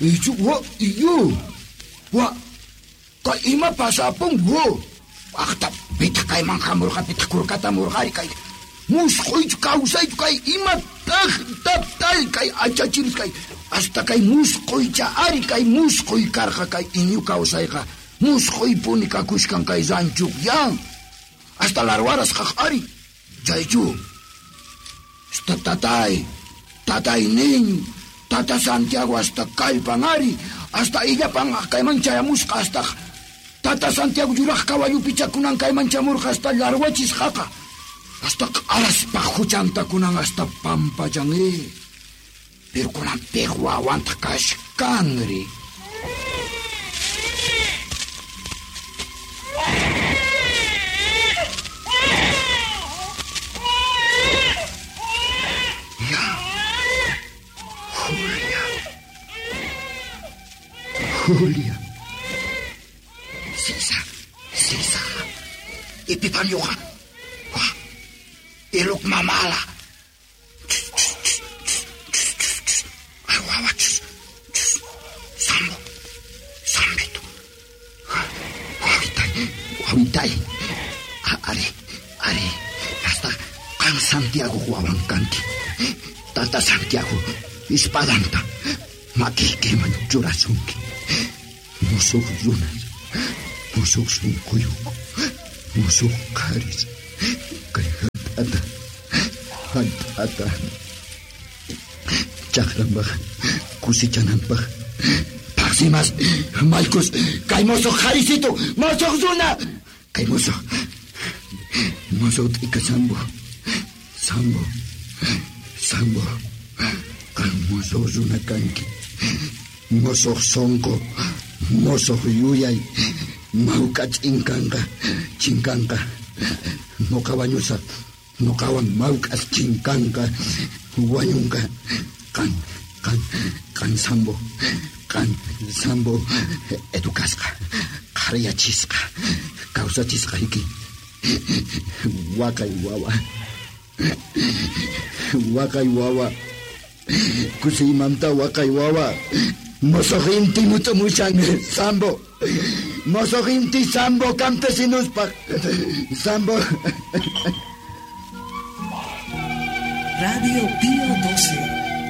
Ichu wa iyo. Wa kay ima pasapun wo. Waqta pitaq kayman hamurqa pitaq kurkata murqari kay. Musquychu kawsaychu kay imataq tatay kay achachiris kay. Hasta kay musquycha ari kay musquy karqa kay iñu kawsayqa. Musquypuni kakushkan kay ranchuq yan. Hasta larwaras qaq ari. Chaychu. Hasta tatay. Tatay niño. Tata Santiago hasta kallpan ari. Hasta illapan kayman chayamusqa hasta. Tata Santiago yuraq kawallupi chakunan kayman chamurqa hasta larwachisqaqa. Hasta q'araspa huchantakunan hasta pampachan Pero kunan piq wawantaq kashkanri. Ya. Julia. Julia. Sisa. Sisa. Ipipamyuqa. Wa. Iluk mamala. Ay, wawa. Sambo. Sambito. Wawitay. Wawitay. Ari. Ari. Hasta qan Santiago wawan kanki. Tata Santiago. Espadanta. Makiykiman churasunki. Musuq runas. Musuq sunquyuq. Musuq qharis. Kay hallp'ata. Hallp'ata. Chakranpaq. Kusichananpaq. Paqsimas. Malcos. Kay musuq qharisito. Musuq runa. Kay musuq. Musuq t'ika sambo. Sambo. Sambo. Qan musuq runa kanki. Musuq sonqo. Musuq yuyay. Mawk'a chinkanqa. Chinkanqa. Nuqa wañusaq. Nuqawan mawk'as chinkanqa. Wañunqa. Qan, qan, qan sambo. Qan sambo. Educasqa. Qhariyachisqa. Kawsachisqayki. Waqay wawa. Waqay wawa. Kusiymanta waqay wawa. Musuq inti mut'umushan sambo. Musuq inti sambo campesinuspaq. Sambo. Radio Pío 12.